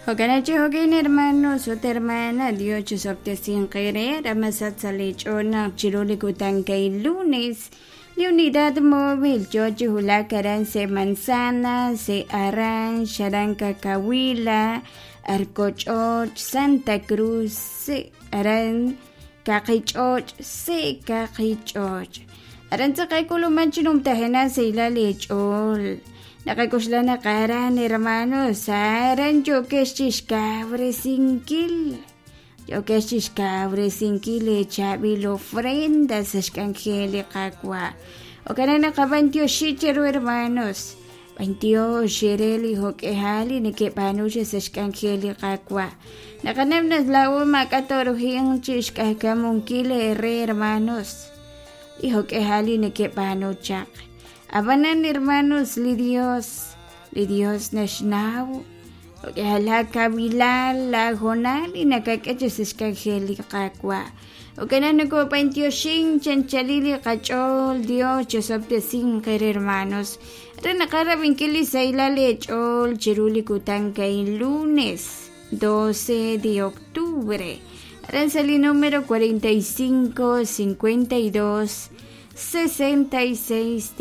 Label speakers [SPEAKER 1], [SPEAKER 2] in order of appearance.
[SPEAKER 1] Jo'kan chi jo'kin hermanos ut hermana, Dios chisob'tesinq eere ramasat sa' lee ch'ool naq chiru li kutan kay lunes li unidad móvil yoo chi wulak aran se Manzana, se Aranx, aran Cacahuila, Arcoch'och, Santa Cruz, se aran Kaqich'och', se Kaqich'och'. Aran tz'aqal k'uluman chi numtajenaq sahilal eech'ool. Naqak'oxla naq aran hermanos, aran yookex chixkawresinkil, yookex chixkawresinkil eechaab'il ofrenda sa' xk'anjel li Qaawa'. Jo'kan naq naqab'antioxi cheru hermanos, b'antiox eere li jo'k'ihal li nekeb'aanu sa' xk'anjel li Qaawa'. Naqanaw naq laa'o maak'a' tooruhinq chixk'ajkamunkil eere hermanos, li jo'k'ihal li nekeb'aanu chaq. Ab'anan hermanos, li Dios, li Dios naxnaw la kawilal la hoonal li nakak'e chi sa' xk'anjel li Qaawa'. Jo'kan naq nokob'antioxink chanchalil li qach'ool Dios chosob'tesinq eere hermanos re naqarab'inkil li sahilal eech'ool chiru li kutan ka'in lunes 12 de octubre. Aran sa' li número 45 52 66.